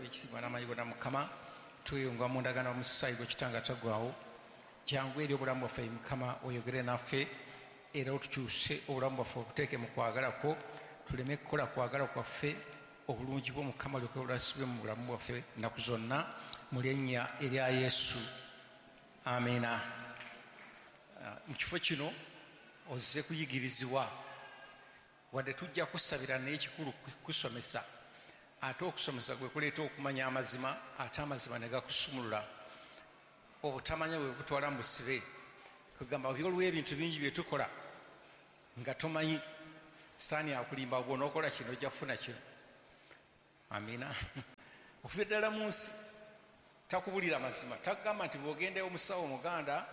Ekitiibwa n'amaanyi gonna, Mukama, tweyunga mu ndagaano omusaayi gwe kitanga taggwaawo. Jangu eri obulamu bwaffe, Mukama, oyogere naffe era otukyuse obulamu bwaffe, obuteeke mu kwagala kwo, tuleme kukola kwagala kwaffe. Obulungi bwo, Mukama, lyoke bulasibwe mu bulamu bwaffe ennaku zonna, mu linnya erya Yesu, amiina. Mu kifo kino ozze kuyigirizibwa. Wadde tujja kusabira, naye ekikulu kusomesa, ate okusomesa gwe kuleeta okumanya amazima, ate amazima ne gakusumulula. Obutamanya bwe bukutwala mu busibe. Kugamba waliwo ebintu bingi bye tukola nga tomanyi. Sitaani akulimba, bw'onookola kino ojja kufuna kino. Amiina. Okuva ddala mu nsi takubulira mazima, takugamba nti bw'ogenda omusawo omuganda,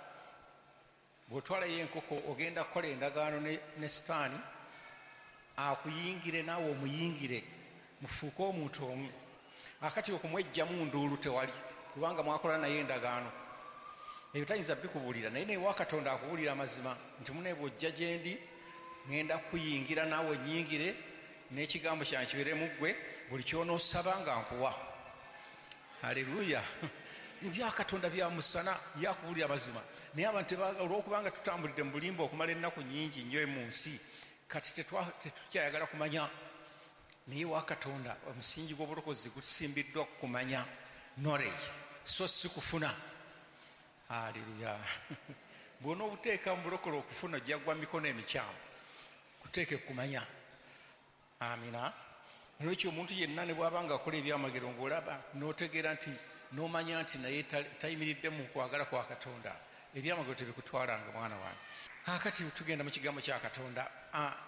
bw'otwalayo enkoko, ogenda kukola endagaano ne Sitaani akuyingire, naawe omuyingire, mufuuke omuntu omu. Akati okumwejjamu nduulu tewali, kubanga mwakola naye endagaano. Ebyo tayinza bikubuulira, naye newa Katonda akubuulira amazima nti mune bw'ojja gye ndi, ŋŋenda kuyingira naawe onyingire, n'ekigambo kyange kibeere mu ggwe, buli ky'onoosaba nga nkuwa. Haleluya! Ebya Katonda bya musana, yakubuulira amazima. Naye abantu olwokubanga tutambulidde mu bulimba okumala ennaku nyingi nnyo mu nsi, kati tetukyayagala kumanya. Naye wa Katonda omusingi gw'obulokozi gusimbiddwa kumanya, knowledge, so si kufuna. Haleluya! Bw'onoobuteeka mu bulokole okufuna, ojja gwa mikono emikyamu. Kuteeke kumanya. Amina. Nolwekyo omuntu yenna ne bw'aba nga akola ebyamagero, ng'olaba n'otegeera nti n'omanya nti naye tayimiridde mu kwagala kwa Katonda, ebyamagero tebikutwalanga, mwana wange. Kakati tugenda mu kigambo kya Katonda.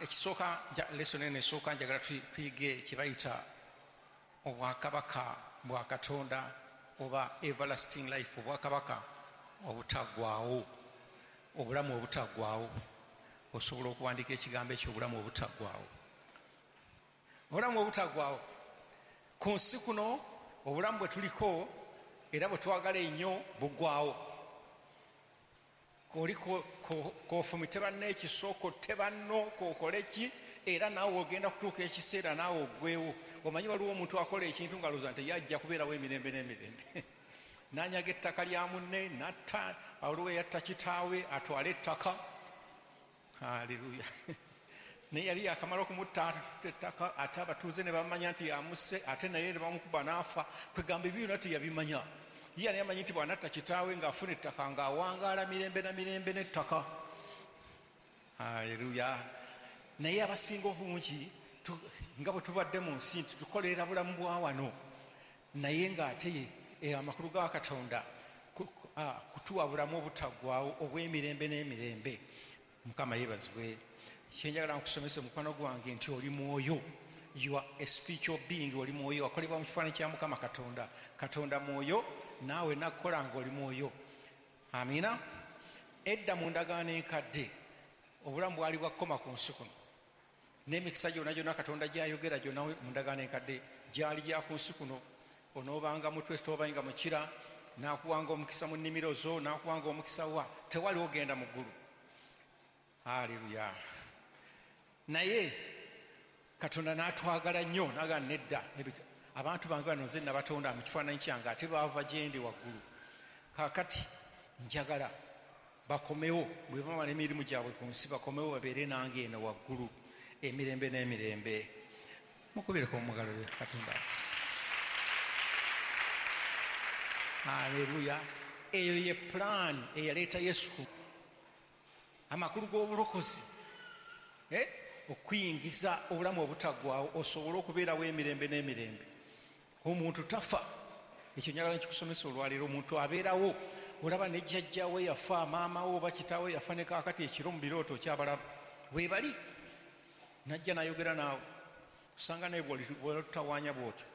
Ekisooka, lesson eno esooka, njagala tuyige kye bayita obwakabaka bwa Katonda oba everlasting life, obwakabaka obutaggwaawo, obulamu obutaggwaawo. Osobola okuwandiika ekigambo ekyo, obulamu obutaggwaawo, obulamu obutaggwaawo. Ku nsi kuno obulamu bwe tuliko era bwe twagala ennyo buggwaawo. Oli kofumite banno ekiso, kotte banno, kokole ki, era naawe ogenda kutuuka ekiseera naawe oggwewo. Omanyi waliwo omuntu akola ekintu nga alowooza nti yajja kubeerawo emirembe n'emirembe, nanyaga ettaka lya munne, natta. Waliwo eyatta kitaawe atwale ettaka. Haleluya! Naye yali yakamala okumutta ettaka, ate abatuuze ne bamanya nti amusse, ate naye ne bamukuba n'afa. Kwegamba ebyo byonna teyabimanya. Ye yali amanyi nti bw'anatta kitaawe ng'afuna ettaka, ng'awangaala mirembe na mirembe n'ettaka. Haleluya! Naye abasinga obungi, nga bwe tubadde mu nsi nti tukolerera bulamu bwa wano, naye ng'ate amakulu ga Katonda kutuwa bulamu obutaggwaawo obw'emirembe n'emirembe. Mukama yeebazibwe. Kyenjagala nkusomese, mukwano gwange, nti oli mwoyo. You are a spiritual being. Oli mwoyo, wakolebwa mu kifaananyi kya Mukama Katonda. Katonda mwoyo, naawe nakukola nga oli mwoyo. Amiina. Edda mu ndagaano enkadde obulamu bwali bwakukoma ku nsi kuno, n'emikisa gyonna gyonna Katonda gyayogera gyonna mu ndagaano enkadde gyali gya ku nsi kuno. Onoobanga mutwe, toobanga mukira, nakuwanga omukisa mu nnimiro zo, nakuwanga omukisa wa tewali ogenda mu ggulu. Haleluya! Naye Katonda n'atwagala nnyo, naga nedda, abantu bange bano nze nabatonda mu kifaananyi kyange, ate baava gyendi waggulu. Kaakati njagala bakomewo, bwe bamala emirimu gyabwe ku nsi, bakomewo babeere nange eno waggulu emirembe n'emirembe. Mukubireko omugalo Katonda. Haleluya! Eyo ye pulaani eyaleeta Yesu. Amakulu g'obulokozi, okuyingiza obulamu obutaggwaawo, osobole okubeerawo emirembe n'emirembe. Omuntu tafa. Ekyo njagala nkikusomesa olwaleero. Omuntu abeerawo. Olaba ne jjajjawe yafa, maama we oba kitaawe yafa, ne kaakati ekiro mu birooto okyabalaba weebali, najja nayogera naawe, osanga naye bwotutawaanya bwotyo.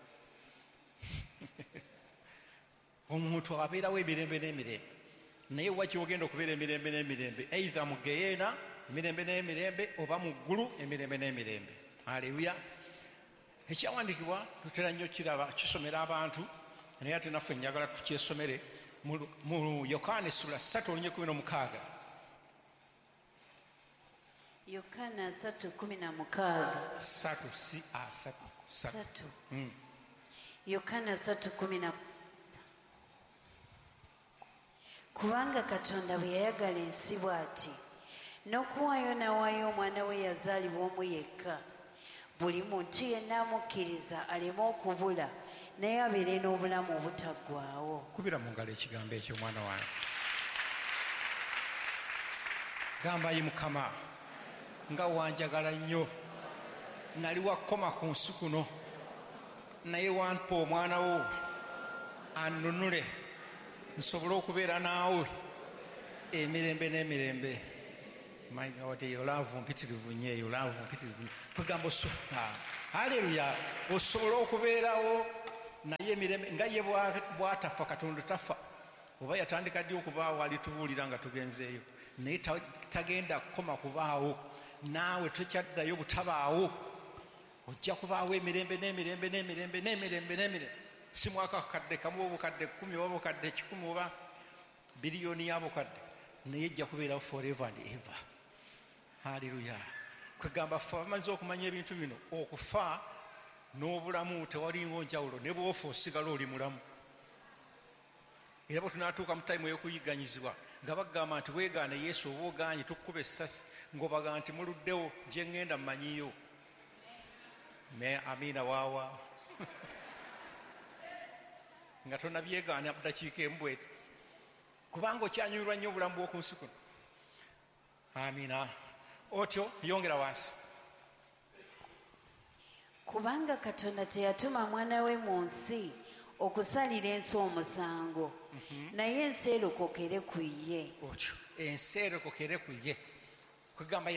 Omuntu abeerawo emirembe n'emirembe, naye wa kyogenda okubeera emirembe n'emirembe? Either mu geyeena emirembe n'emirembe oba mu ggulu emirembe n'emirembe. Aleluya! Ekyawandiikibwa tutera nnyo kiraba kisomera abantu, naye ate naffe njagala tukyesomere mu Yokaana essula 3 olunye 16. Yokaana 3:16. 3, si asatu. 3. Yokaana 3:10. Kubanga Katonda bwe yayagala ensi bw'ati, n'okuwaayo n'awaayo omwana we yazaalibwa omu yekka, buli muntu yenna amukkiriza aleme okubula, naye abeere n'obulamu obutaggwaawo. Kubira mu ngalo ekigambo ekyo, omwana wange. Gamba, "Ayi Mukama, nga wanjagala nnyo. Nali wakoma ku nsi kuno, naye wampa omwana wo annunule nsobole okubeera naawe emirembe n'emirembe." My God, eyo love mpitirivu nnyo, eyo love mpitirivu nnyo. Kwegamba, haleluya, osobole okubeerawo naye emirembe nga ye bw'atafa. Katonda tafa. Oba yatandika ddi okubaawo alitubuulira nga tugenzeeyo, naye tagenda kukoma kubaawo. Naawe tokyaddayo butabaawo, ojja kubaawo emirembe n'emirembe n'emirembe n'emirembe n'emirembe. Si mwaka kakadde kamu oba obukadde 10 oba obukadde 100 oba biliyoni ya bukadde, naye ejja kubeerawo forever and ever. Haleluya. Kwegamba ffe abamaze okumanya ebintu bino, okufa n'obulamu tewalinwo njawulo. Ne bwofa osigala oli mulamu. Era bwe tunaatuuka mu time ey'okuyigganyizibwa nga bagamba nti weegaane Yesu oba ogaanye tukkuba essasi, ng'obaga nti muluddewo, gye ŋŋenda mmanyiyo. Ne amiina waawa nga tonabyegaana dakiika emu bweti, kubanga okyanyumirwa nnyo obulamu bw'oku nsi kuno. Amiina. Otyo, yongera wansi. Kubanga Katonda teyatuma mwana we mu nsi okusalira ensi omusango, naye ensi erokokere ku ye. Otyo, ensi erokokere ku ye. Kwegamba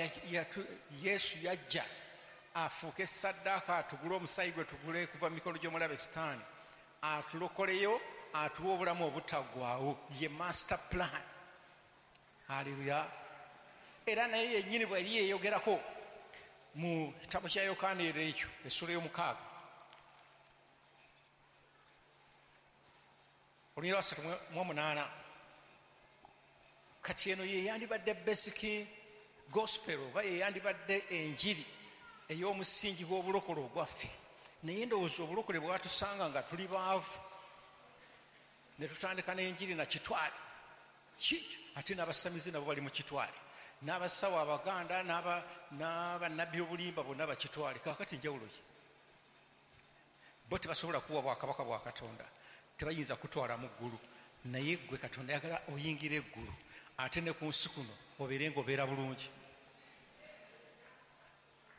Yesu yajja afuuke saddaaka, atugule omusayi gwe, tugule kuva mu mikono gy'omulabe Sitaani, atulokoleyo, atuwe obulamu obutaggwaawo. Ye master plan. Haleluya. Era naye yennyini bwe yali yeeyogerako mu kitabo kya Yokaana era ekyo, essula y'omukaaga, olunyiriri lwa 38. Kati eno ye yandibadde basic gospel, oba ye yandibadde enjiri ey'omusingi gw'obulokole ogwaffe, naye ndowooza obulokole bwatusanga nga tuli baavu ne tutandika n'enjiri nakitwale. Ate n'abasamizi nabo bali mu kitwale, n'abasawo Abaganda n'abannabbi obulimba bonna bakitwale. Kakati njawulo ki? Bo tebasobola kuwa bwakabaka bwa Katonda, tebayinza kutwala mu ggulu, naye gwe Katonda ayagala oyingira eggulu, ate ne ku nsi kuno obeere ng'obeera bulungi.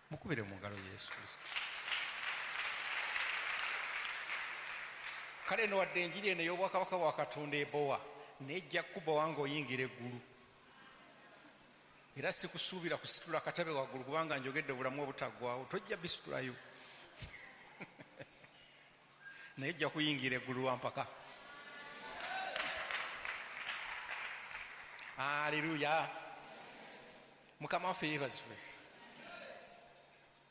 Mukubire mu ngalo Yesu Kristo. Kale no wadde enjiri eno ey'obwakabaka bwa Katonda ebowa, naye ejja kukubowa ng'oyingira eggulu. Era sikusuubira kusitula katabe waggulu, kubanga njogedde obulamu obutaggwawo, tojja bisitulayo, naye ojja kuyingira eggulu lwampaka. Aleluya. Mukama waffe yeebazibwe.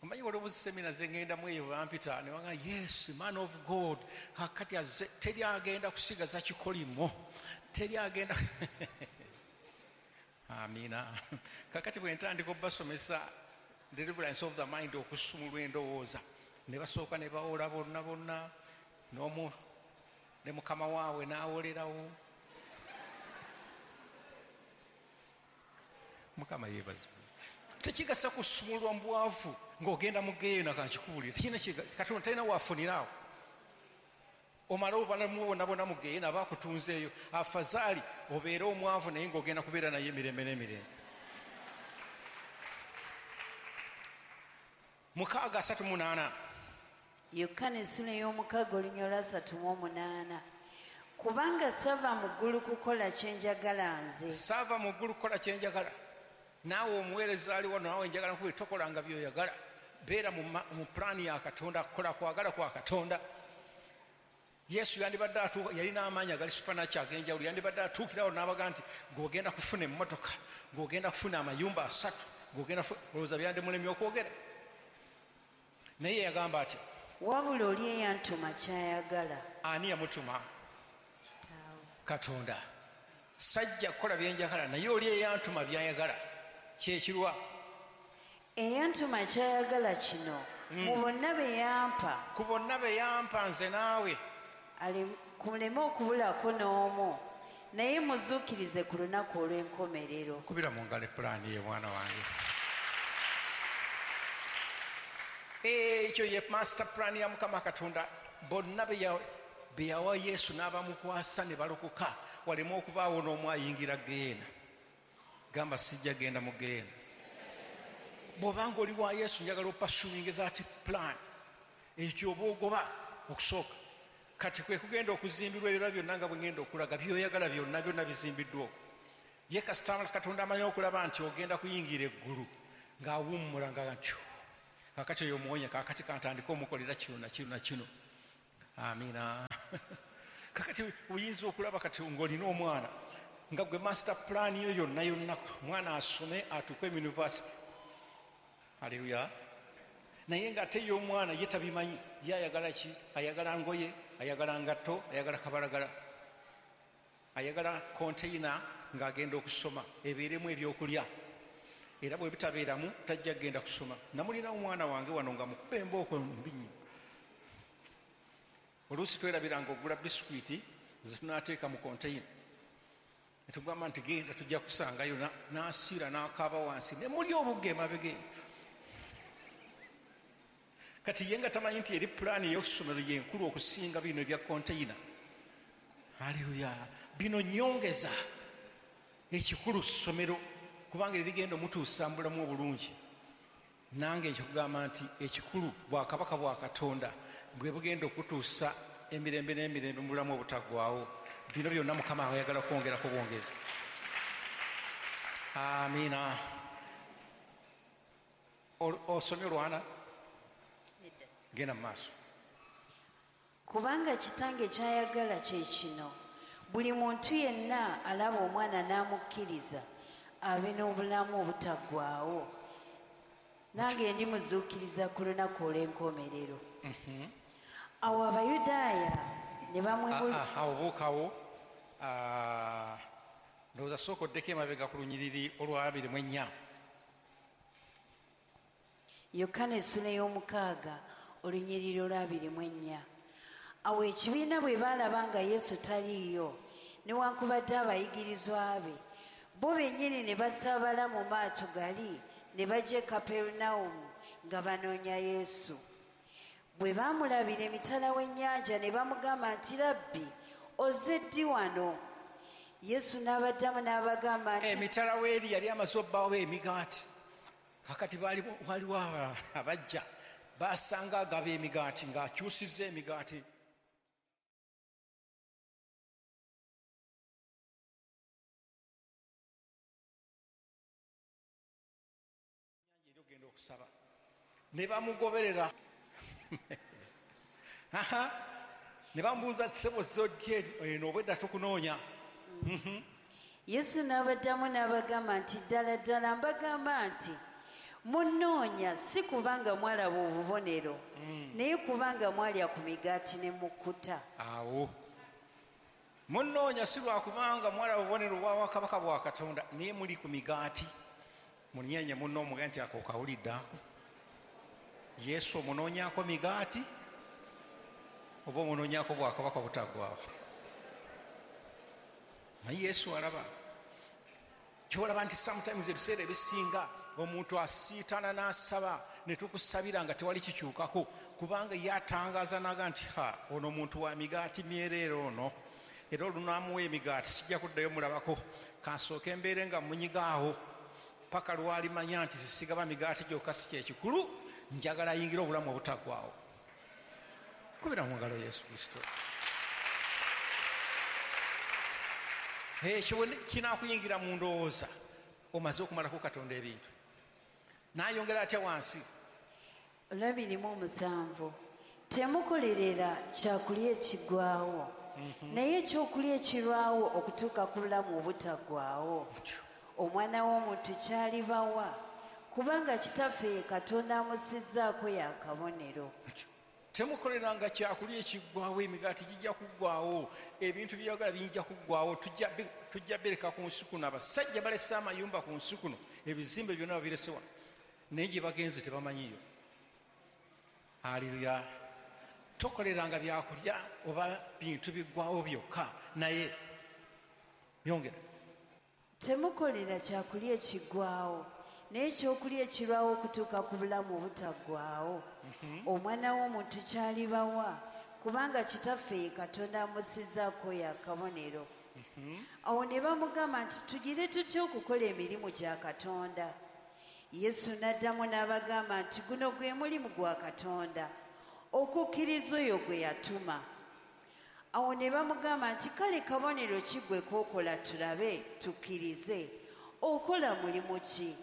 Omanyi waliwo busemina zengendamu eyo bampita ne baga, "Yes, man of God, kakati azze, teri agenda kusigaza kikolimo, teri agenda." Amiina. Kakati bwe ntandika obbasomesa deliverance of the mind, okusumulwa endowooza, ne basooka ne bawola bonna bonna, n'omu ne mukama waabwe n'awolerawo. Mukama yeebazibwe. Tekigasa kusumulwa mu bwavu ng'ogenda mu geena. Kankikuwulire, tekirina. Katonda talina waafuniraawo. Omale obalamu bwonna bwonna mu geena, aba akutunzeeyo. Afazaali obeere omwavu, naye ng'ogenda kubeera naye emirembe n'emirembe. 6:38. Yokaana essula ey'omukaaga, olunyiriri lwa 38. Kubanga sava mu ggulu kukola kye njagala nze, Saava mu ggulu kukola kyenjagala. Naawe omuweereza ali wano, naawe njagala nkubi, tokolanga byoyagala. Beera mu pulaani ya Katonda, kukola kwagala kwa Katonda. Yesu yandibadde atuuka, yalina amaanyi agali supernatural ag'enjawulo, yandibadde atuukirawo n'abaga nti ng'ogenda kufuna emmotoka, ng'ogenda kufuna amayumba asatu, ng'ogenda. Olowooza byandimulemye okwogera? Naye yagamba atya? Wabula oli eyantuma kyayagala. Ani yamutuma? Kitaawe. Katonda. Sajja kukola byenjagala, naye oli eyantuma byayagala. Kyekirwa? Eyantuma kyayagala kino, Mu bonna be yampa, Ku bonna be yampa nze naawe, kuleme okubulako n'omu, naye muzuukirize ku lunaku olw'enkomerero. Kubira mu ngalo epulaani ye, mwana wange. Ekyo ye master plan ya Mukama Katonda. Bonna be yawa Yesu n'abamukwasa ne balokoka, waleme okubaawo n'omu ayingira geena. Gamba, sijja genda mu geena. Bw'obanga oli wa Yesu, njagala opursuing that plan. Ekyo oba ogoba okusooka. Kati kwe kugenda okuzimbirwa ebirala byonna nga bwe ngenda okulaga, by'oyagala byonna byonna bizimbiddwa okwo. Ye kasita Katonda amanyi okulaba nti ogenda kuyingira eggulu, ng'awummula nga nti kaakati oyo omuwonya, kaakati kantandike omukolera kino na kino na kino. Amiina. Kakati oyinza okulaba kati ng'olina omwana nga gwe master plan yo yonna yonna, omwana asome atuuke mu university. Haleluya. Naye ng'ate ye omwana ye tabimanyi, ye ayagala ki? Ayagala ngoye, ayagala ngatto, ayagala kabalagala, ayagala konteyina ng'agenda okusoma ebeeremu ebyokulya, era bwe bitabeeramu tajja kugenda kusoma. Namulina omwana wange wano nga mukuba embooko mbi nnyo. Oluusi twerabiranga ogula bisikwiti zetunaateeka mu konteyina, netugamba nti genda tujja kusangayo, n'asiira n'akaaba wansi ne muli obugga emabega. Kati ye nga tamanyi nti eri pulaani ey'okusomero yenkulu okusinga bino ebya konteyina. Haleluya. Bino nyongeza, ekikulu ssomero, kubanga erigenda omutuusa mu bulamu obulungi. Nange nkikugamba nti ekikulu bwakabaka bwa Katonda bwe bugenda okutuusa emirembe n'emirembe mu bulamu obutaggwaawo. Bino byonna Mukama ayagala kwongerako bwongezi. Amiina. Osomye olwana? Genda mu maaso. Kubanga kitange ky'ayagala kye kino, buli muntu yenna alaba omwana n'amukkiriza abe n'obulamu obutaggwaawo, nange ndimuzuukiriza ku lunaku olw'enkomerero. Awo Abayudaaya ne bamwebula. Awo buukawo. Ndowooza sooka oddeko emabega ku lunyiriri olwa 24. Yokaana essula ey'omukaaga, olunyiriri olwa 24. Awo ekibiina bwe baalaba nga Yesu taliiyo, newankubadde abayigirizwa be, bo bennyini ne basaabala mu maato gali ne bajja e Kaperunawumu nga banoonya Yesu. Bwe baamulabira emitala w'ennyanja ne bamugamba nti, Labbi, ozze ddi wano? Yesu n'abaddamu n'abagamba nti, Emitala w'eri yali amaze obbaawo emigaati. Kakati waliwo abajja basanga agaba emigaati ng'akyusizza emigaati. Eri ogenda okusaba ne bamugoberera. Ne bamubuuza, ssebo zoddi eno, obwedda tukunoonya. Yesu n'abaddamu n'abagamba nti, ddala ddala mbagamba nti munnoonya si kubanga mwalaba obubonero, naye kubanga mwalya ku migaati ne mukkuta. Awo munnoonya si lwakubanga mwalaba obubonero bw'obwakabaka bwa Katonda, naye muli ku migaati. Munyenye munno omugambe nti ako kawulidde ako. Yesu omunoonyaako migaati oba omunoonyaako bwakabaka butaggwaawo? Naye Yesu alaba. Kyolaba nti sometimes ebiseera ebisinga omuntu asiitana n'asaba ne tukusabira nga tewali kikyukako, kubanga ye atangaaza n'aga nti ha, ono muntu wa migaati myereere ono, era olunaamuwa emigaati sijja kuddayo mulabako, kansooke mbeere nga munyigaawo paka lwalimanya nti sisigaba migaati gyokka si kyekikulu, njagala ayingire obulamu obutaggwaawo. Kubira mu ngalo Yesu Kristo. Ekyo bwe kinaakuyingira mu ndowooza, omaze okumalako Katonda ebintu. N'ayongera atya wansi? 27, temukolerera kyakulya ekiggwaawo, naye ekyokulya ekirwawo okutuuka ku bulamu obutaggwaawo, Omwana w'omuntu kyalibawa, kubanga Kitaffe ye Katonda amussizzaako y'akabonero. Temukoleranga kyakulya ekiggwaawo, emigaati gijja kuggwaawo, ebintu by'oyagala bijja kuggwaawo, tujja bereka ku nsi kuno. Abasajja balese amayumba ku nsi kuno, ebizimbe byonna babirese wano, naye gye bagenze tebamanyiyo. Haleluya. Tokoleranga byakulya oba bintu biggwawo byokka, naye yongera. Temukolera kyakulya ekiggwawo, naye ekyokulya ekirwawo okutuuka ku bulamu obutaggwaawo. Omwana w'omuntu kyalibawa, kubanga Kitaffe ye Katonda amussizzaako oyo akabonero. Awo ne bamugamba nti, tugire tutya okukola emirimu gya Katonda? Yesu n'addamu n'abagamba nti, guno gwe mulimu gwa Katonda, okukkiriza oyo gwe yatuma. Awo ne bamugamba nti, kale kabonero ki gwe k'okola tulabe tukkirize? Okola mulimu ki?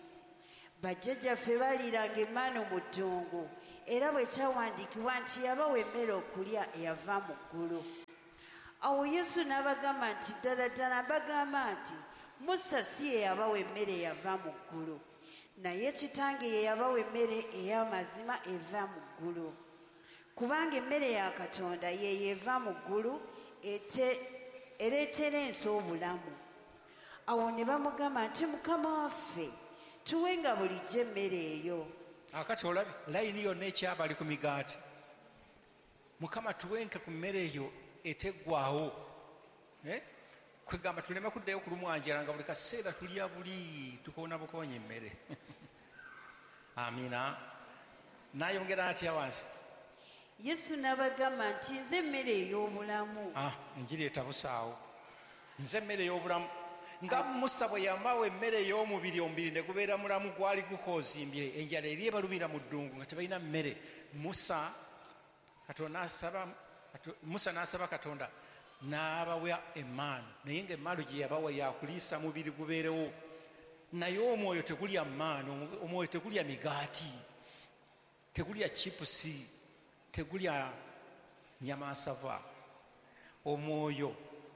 Bajjajjaffe baliiranga emmaanu mu ddungu, era bwe kyawandiikibwa nti yabawa emmere okulya eyava mu ggulu. Awo Yesu n'abagamba nti, ddala ddala mbagamba nti Musa si ye yabawa emmere eyava mu ggulu, naye Kitange ye yabawa emmere ey'amazima eva mu ggulu. Kubanga emmere ya Katonda ye eva mu ggulu, ereetera ensi obulamu. Awo ne bamugamba nti, Mukama waffe, tuwenga bulijjo emmere eyo. Akati olabye layini yonna ekyabali ku migaati. Mukama tuwenke ku mmere eyo eteggwawo. Kwegamba tuleme kuddayo kulumwa njala nga buli kaseera tulya buli tukoona bukoonyi emmere. Amiina. N'ayongera atya wansi? Yesu n'abagamba nti, nze emmere ey'obulamu. Enjiri etabusaawo. Nze emmere ey'obulamu. Nga Musa bwe yamawa emmere ey'omubiri, omubiri ne gubeera mulamu, gwali gukoozimbye, enjala eri ebalumira mu ddungu nga tebalina mmere. Musa n'asaba Katonda n'abawa emmaanu, naye ng'emmaanu gye yabawa yakuliisa mubiri gubeerewo, naye omwoyo tegulya mmaanu, omwoyo tegulya migaati, tegulya chipusi, tegulya nyama nsava. Omwoyo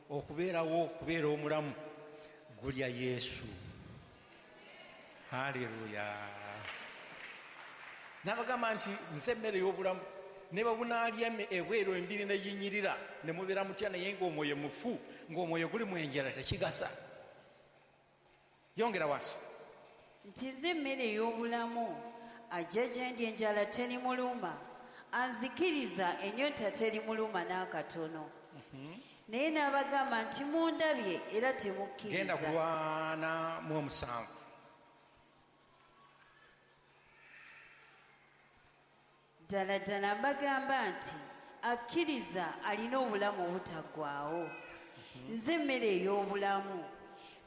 okubeerawo, okubeera omulamu, gulya Yesu. Haleluya. N'abagamba nti nze emmere ey'obulamu, ne bwe bunaalya ebweru embiri ne yinyirira ne mubeera mutya, naye ng'omwoyo mufu, ng'omwoyo guli mu enjala, tekigasa. Yongera wansi. Nti nze emmere ey'obulamu, ajja gye ndi enjala terimuluma, anzikiriza ennyonta terimuluma n'akatono. Naye n'abagamba nti mundabye era Genda temukkiriza. Ku 47. Ddala ddala mbagamba nti akkiriza alina obulamu obutaggwaawo. Nze emmere ey'obulamu.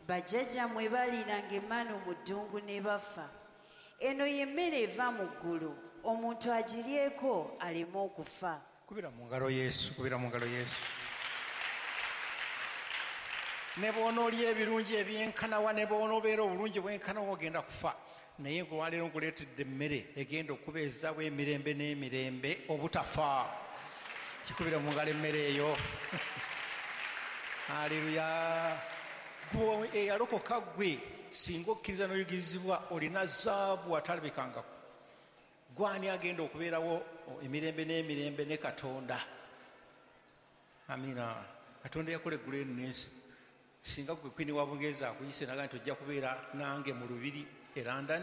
Bajjajjammwe baliiranga emmaanu mu ddungu ne bafa. Eno ye mmere eva mu ggulu, omuntu agiryeko aleme okufa. Kubira mu ngalo Yesu, kubira mu ngalo Yesu. Ne bw'onoolya ebirungi ebyenkanawa, ne bw'onoobeera obulungi bwenkanawa, ogenda kufa. Naye olwaleero nkuleetedde emmere egenda okubeezaawo emirembe n'emirembe obutafa. Kikubira mu ngalo emmere eyo. Haleluya. Gwe eyalokoka ggwe, singa okkiriza n'oyigirizibwa, olina zaabu atalabikangako. Gwani agenda okubeerawo emirembe n'emirembe ne Katonda? Amiina. Katonda yakola eggulu eno n'ensi. Singa gwe kwini wa Bungereza akuyise naga nti ojja kubeera nange mu lubiri e London,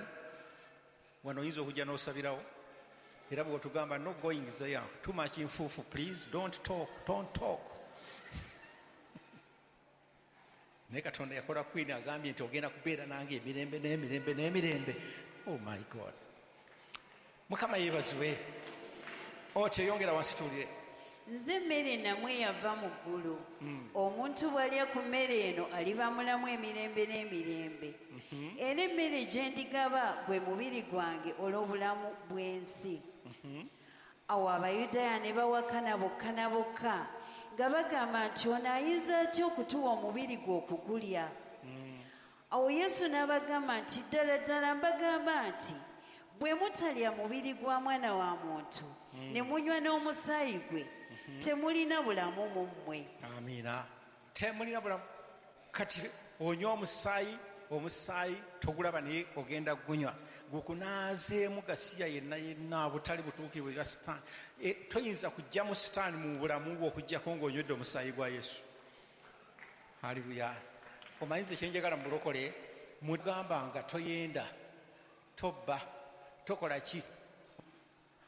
wano oyinza okujja n'osabirawo. Era bwe otugamba no going there, too much nfuufu, please don't talk, don't talk. Naye Katonda yakola kwini agambye nti ogenda kubeera nange emirembe n'emirembe n'emirembe. Oh my God. Mukama yeebazibwe. Otyo yongera wansi tuwulire. Nze emmere nammwe eyava mu ggulu. Omuntu bw'alya ku mmere eno aliba mulamu emirembe n'emirembe. Era emmere gye ndigaba gwe mubiri gwange olw'obulamu bw'ensi. Awo Abayudaaya ne bawakana bokka na bokka nga bagamba nti ono ayinza atya okutuwa omubiri gwe okugulya? Awo Yesu n'abagamba nti ddala ddala mbagamba nti bwe mutalya mubiri gwa mwana wa muntu ne munywa n'omusaayi gwe, temulina bulamu mu mmwe. Amiina. Temulina bulamu. Kati onywa omusaayi, omusaayi togulaba naye ogenda gunywa, gukunaazeemu gasiya yenna yenna butali butuukirivu bwa Sitaani. Toyinza kuggyamu Sitaani mu bulamu bwo okuggyako ng'onywedde omusaayi gwa Yesu. Haleluya. Omanyi nze kye njagala mu bulokole, mugamba nga toyenda, tobba, tokola ki?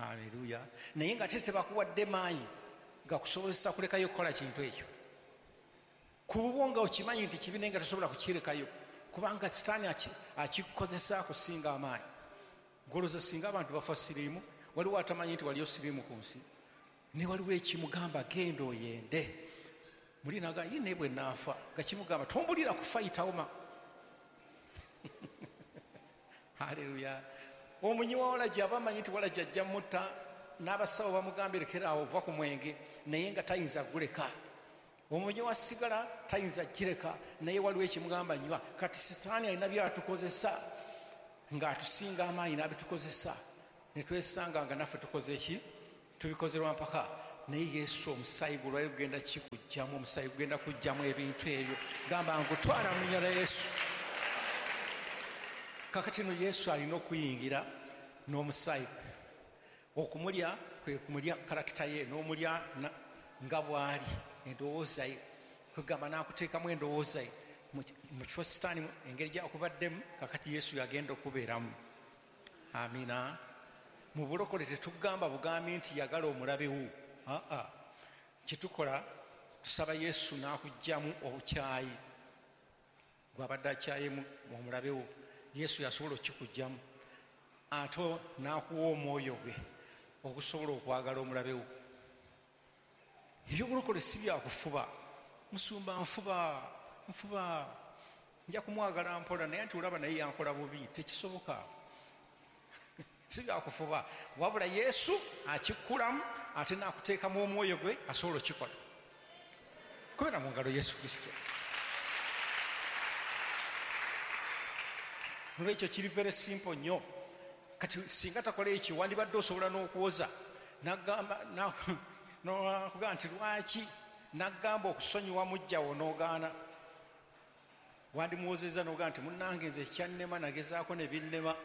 Haleluya. Naye nga ate tebakuwadde maanyi gakusobozesa kulekayo kukola kintu ekyo. Kuba nga okimanyi nti kibi naye nga tosobola kukirekayo, kubanga sitaani akikukozesa akusinga amaanyi. Ngolooza singa abantu bafa siriimu, waliwo atamanyi nti waliyo siriimu ku nsi, ne waliwo ekimugamba genda oyende. Muli naga ye naye bwe naafa, nga kimugamba tombulira kufa yitawo ma. Haleluya. Omunyi wa walagi aba amanyi nti walagi ajja mutta, n'abasawo bamugamba lekera awo ova ku mwenge, naye nga tayinza guleka. Omunyi wa sigala tayinza gireka, naye waliwo ekimugamba nywa. Kati sitaani alina byatukozesa ng'atusinga amaanyi n'abitukozesa, ne twesanga nga naffe tukoze ki? Tubikoze lwa mpaka. Naye Yesu omusaayi gwe lwali gugenda kikuggyamu, omusaayi gugenda kuggyamu ebintu ebyo. Gamba ngutwala mu linnya lya Yesu. Kakati no Yesu alina okuyingira n'omusaayi gwe. Okumulya kwe kumulya karakita ye, n'omulya nga bw'ali, endowooza ye. Kwegamba n'akuteekamu endowooza ye. Mu kifo sitaani engeri gy'akubaddemu, kakati Yesu yagenda okubeeramu. Amiina. Mu bulokole tetugamba bugambi nti yagala omulabe wo. Aa, kyetukola tusaba Yesu n'akuggyamu obukyayi gw'abadde akyayemu omulabe wo. Yesu yasobola okukikuggyamu, ate n'akuwa omwoyo gwe okusobola okwagala omulabe wo. Ebyobulokole si byakufuba. Musumba nfuba, nfuba, nja kumwagala mpola, naye nti olaba naye yankola bubi. Tekisoboka. Si byakufuba, wabula Yesu akikulamu ate n'akuteekamu omwoyo gwe asobola okukikola. Kubera mu ngalo Yesu Kristo. Nolwekyo kiri very simple nnyo. Kati singa takola ekyo, wandibadde osobola n'okuwoza n'akugamba nti lwaki n'agamba okusonyiwa muggyawo n'ogaana. Wandimuwozezza n'ogamba nti munnange nze kyannema nagezaako ne binnema.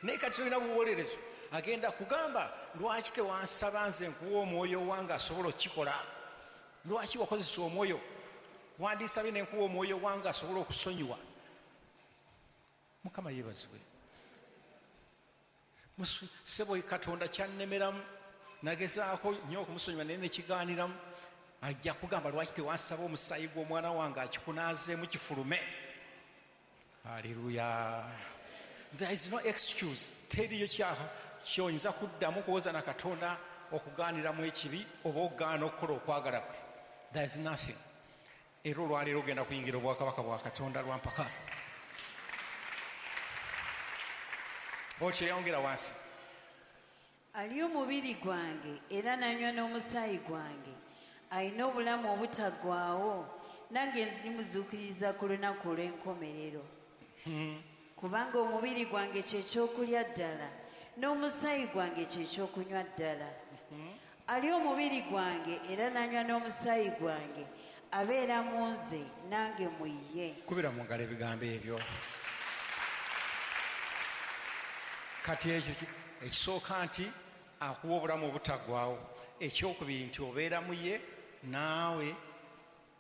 Naye kati tolina buwolerezo. Agenda kugamba lwaki tewansaba nze nkuwa omwoyo wange asobola okukikola? Lwaki wakozesa omwoyo? Wandisabye ne nkuwa omwoyo wange asobola okusonyiwa. Mukama yeebazibwe. Ssebo Katonda kyannemeramu, nagezaako nnyo okumusonyiwa naye nekigaaniramu. Ajja kugamba lwaki tewansaba omusaayi gw'omwana wange akikunaazeemu kifulume. Haleluya. There is no excuse. Teriyo kyoyinza kuddamu kuwoza na Katonda okugaaniramu ekibi oba okugaana okukola okwagala kwe. There is nothing. Era olwaleero ogenda kuyingira obwakabaka bwa Katonda lwa mpaka. Okyeyongera wansi. Alya omubiri gwange era n'anywa n'omusaayi gwange alina obulamu obutaggwaawo, nange ndimuzuukiriza ku lunaku olw'enkomerero. Kubanga omubiri gwange kye kyokulya ddala, n'omusaayi gwange kye kyokunywa ddala. Alya omubiri gwange era n'anywa n'omusaayi gwange abeera mu nze nange mu ye. Kubira mu ngalo ebigambo ebyo. Kati ekyo ekisooka nti akuwa obulamu obutaggwaawo. Ekyokubiri nti obeera mu ye naawe,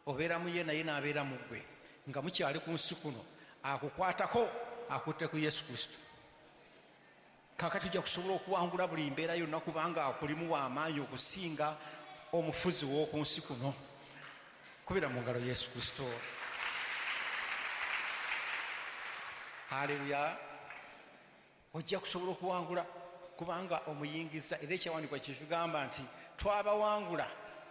obeera mu ye naye n'abeera mu ggwe. Nga mukyali ku nsi kuno, akukwatako akutte ku Yesu Kristo. Kaakati ojja kusobola okuwangula buli mbeera yonna kubanga akulimu w'amaanyi okusinga omufuzi w'oku nsi kuno. Kubira mu ngalo Yesu Kristo. Haleluya. Ojja kusobola okuwangula kubanga omuyingiza. Era ekyawandiikibwa kye kigamba nti twabawangula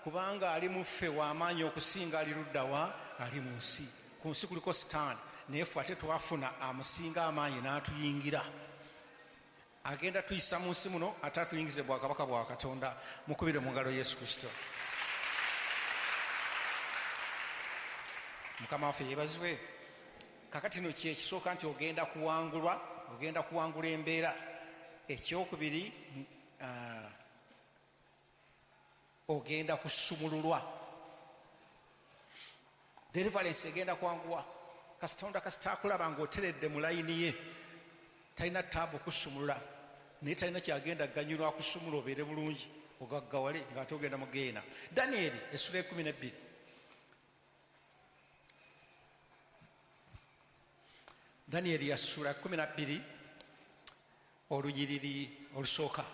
kubanga ali mu ffe w'amaanyi okusinga ali ludda wa ali mu nsi. Ku nsi kuliko sitaani, naye ffe ate twafuna amusinga amaanyi n'atuyingira. Agenda tuyisa mu nsi muno ate atuyingize bwakabaka bwa Katonda. Mukubire mu ngalo Yesu Kristo. Mukama waffe yeebazibwe. Kakati no kye ekisooka nti ogenda kuwangulwa, ogenda kuwangula embeera. Ekyokubiri, ogenda kusumululwa. Deliverance egenda kwanguwa. Katonda kasita akulaba ng'oteredde mu layini ye, talina taabu kusumulula, naye talina kyagenda kuganyulwa akusumula obeere bulungi ogaggawale ng'ate ogenda mu geena. Danieri essula 12. Danieri yasula 12 olunyiriri olusooka.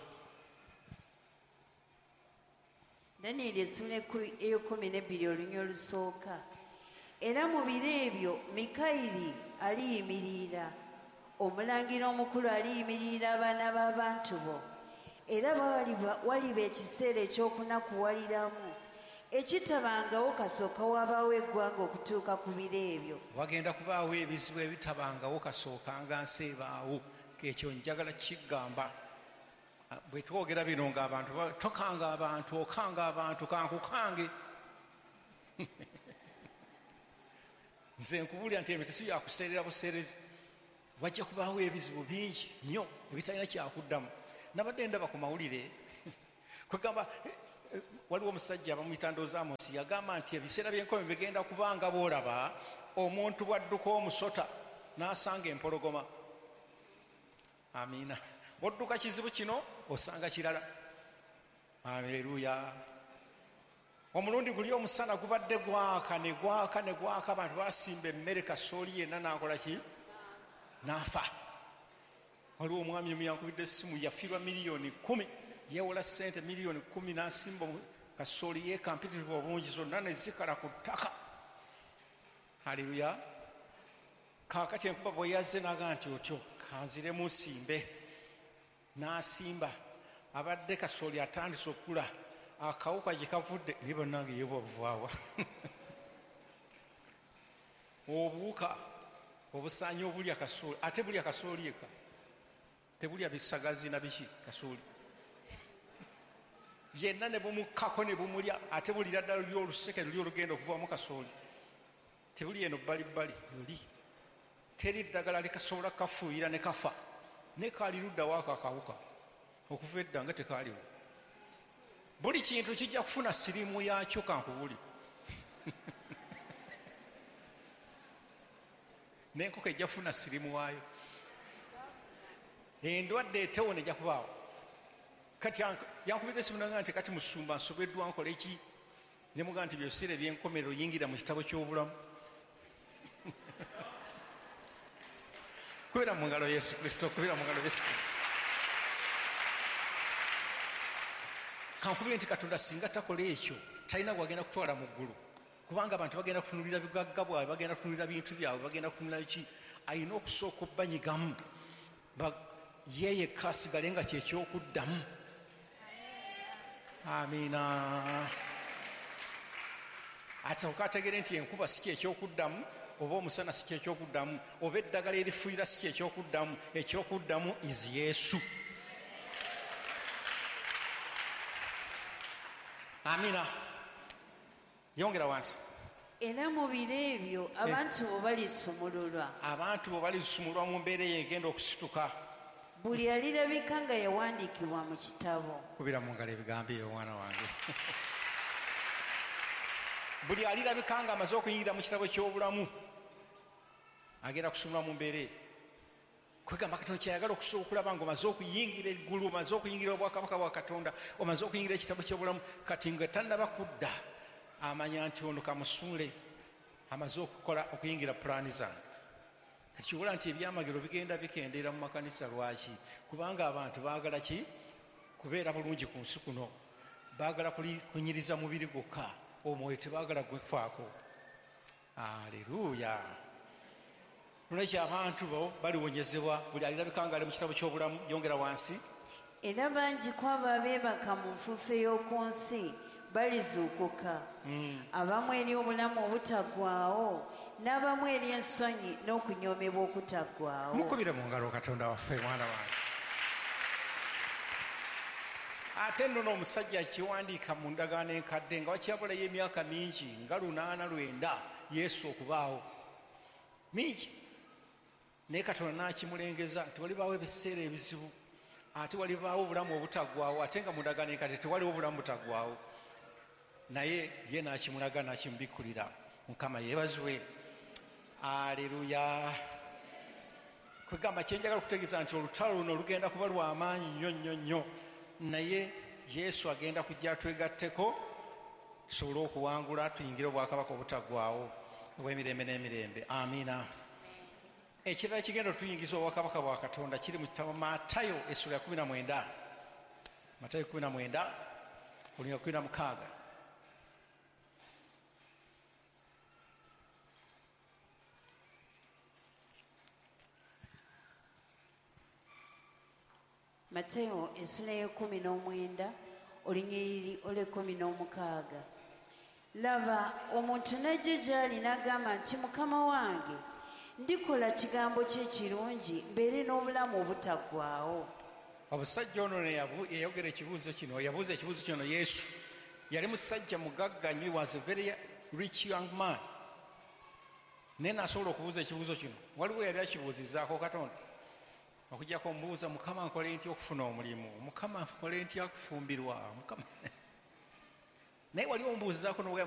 Danyeri essula 12 olunyiriri olusooka. Era mu biro ebyo Mikayiri aliyimirira, omulangira omukulu aliyimirira abaana b'abantu bo. Era waliba ekiseera eky'okunakuwaliramu ekitabangawo kasooka wabaawo eggwanga okutuuka ku biro ebyo. Wagenda kubaawo ebizibu ebitabangawo kasooka nga nsi ebaawo. Ekyo njagala kigamba. Bwe twogera bino ng'abantu tokanga abantu, okanga abantu, kankukange. Nze nkubuulira nti ebintu si byakuseerera buseerezi. Wajja kubaawo ebizibu bingi nnyo ebitalina kyakuddamu. Nabadde ndaba ku mawulire kwegamba waliwo omusajja bamuyita Ndowooza Amosi, yagamba nti ebiseera by'enkomi bigenda kubanga bw'olaba omuntu bw'adduka omusota n'asanga empologoma. Amiina. Bw'odduka kizibu kino osanga kirala. Aleluya. Omulundi guli omusana gubadde gwaka ne gwaka ne gwaka, abantu basimba emmere kasooli yenna n'akola ki? N'afa. Waliwo omwami omu yankubidde essimu, yafiirwa 10,000,000, yeewola ssente 10,000,000 n'asimba kasooli yeeka mpitirivu obungi zonna ne zikala ku ttaka. Haleluya. Kaakati enkuba bwe yazze n'agamba nti otyo kanziremu nsimbe, n'asimba. Abadde kasooli atandise okukula, akawuka gye kavudde naye bannange ye bwabuvaawa. Obuwuka obusaanyi obulya kasooli, ate bulya kasooli eka, tebulya bisagazi na biki, kasooli yenna ne bumukkako ne bumulya, ate bulira ddala luli oluseke luli olugenda okuvamu kasooli, tebuli eno bbalibbali luli, teri ddagala likasobola kafuuyira ne kafa, ne kaali ludda waako akawuka okuva edda nga tekaaliwo. Buli kintu kijja kufuna siriimu yaakyo, kankubuli. N'enkoko ejja kufuna siriimu waayo, endwadde etewona ejja kubaawo. Kati yankubidde essimu n'agamba nti kati musumba nsobeddwa nkole ki? Ne mugamba nti ebiseera eby'enkomerero yingira mu kitabo ky'obulamu. Kubira mu ngalo Yesu Kristo, kubira mu ngalo Yesu Kristo. Kankubire nti Katonda singa takola ekyo talina gwagenda kutwala mu ggulu, kubanga abantu bagenda kutunulira bigagga bwabwe, bagenda kutunulira bintu byabwe, bagenda kutunulira ki. Alina okusooka obbanyigamu ye yekka asigale nga kyekyokuddamu. Amiina. Ate ategere nti enkuba si kyekyokuddamu, oba omusana si kyekyokuddamu, oba eddagala erifuuyira si kyekyokuddamu. Ekyokuddamu is Yesu. Amina. Yongera wansi. Era mu biro ebyo abantu bo balisumululwa. Abantu bo balisumululwa mu mbeera eyo egenda okusituka. Buli alirabika nga yawandiikibwa mu kitabo. Kubira mu ngalo ebigambo ebyo mwana wange. Buli alirabika nga amaze okuyingira mu kitabo ky'obulamu agenda kusumulwa mu mbeera eyo. Kwegamba Katonda kyayagala okusobola okulaba ng'omaze okuyingira eggulu, omaze okuyingira obwakabaka bwa Katonda, omaze okuyingira ekitabo ky'obulamu, kati nga tannaba kudda amanya nti ono kamusuule amaze okukola okuyingira pulaani zange. Kati kibula nti ebyamagero bigenda bikendeera mu makanisa. Lwaki? Kubanga abantu baagala ki? Kubeera bulungi ku nsi kuno, baagala kunyiriza mubiri gwokka, omwoyo tebaagala gwefaako. Aleluya. Nolwekyo abantu bo baliwonyezebwa, buli alirabika nga ali mu kitabo ky'obulamu. Yongera wansi. Era bangi ku abo abeebaka mu nfuufu ey'oku nsi balizuukuka, abamu eri obulamu obutaggwaawo, n'abamu eri ensonyi n'okunyoomebwa okutaggwaawo. Mukubire mu ngalo Katonda waffe mwana wange. Ate nno n'omusajja akiwandiika mu ndagaano enkadde nga wakyabulayo emyaka mingi nga 809 Yesu okubaawo, mingi, naye Katonda n'akimulengeza nti walibaawo ebiseera ebizibu, ate walibaawo obulamu obutaggwaawo, ate nga mu ndagaano enkadde tewaliwo obulamu butaggwaawo, naye ye n'akimulaga n'akimubikkulira. Mukama yeebazibwe. Aleluya. Kwegamba kyenjagala okutegeeza nti olutalo luno lugenda kuba lw'amaanyi nnyo nnyo nnyo, naye Yesu agenda kujja atwegatteko tusobole okuwangula tuyingire obwakabaka obutaggwaawo obw'emirembe n'emirembe. Amiina. Ekirala kigenda otuyingiza obwakabaka bwa Katonda kiri mu kitabo Matayo essula ya 19. Matayo 19 olunyiriri 16. Matayo essula ya 19 olunyiriri olw'16. Laba omuntu n'ajja gy'ali n'agamba nti Mukama wange, ndikola kigambo kye kirungi mbeere n'obulamu obutaggwaawo. Omusajja ono yayogera ekibuuzo kino, yabuuza ekibuuzo kino Yesu. Yali musajja mugagga nnyo, he was a very rich young man. Naye n'asobola okubuuza ekibuuzo kino. Waliwo yali akibuuzizzaako Katonda. Okujjako omubuuza, Mukama nkole ntya okufuna omulimu? Mukama nkole ntya okufumbirwa? Mukama. Naye wali omubuuzizaako n'ogamba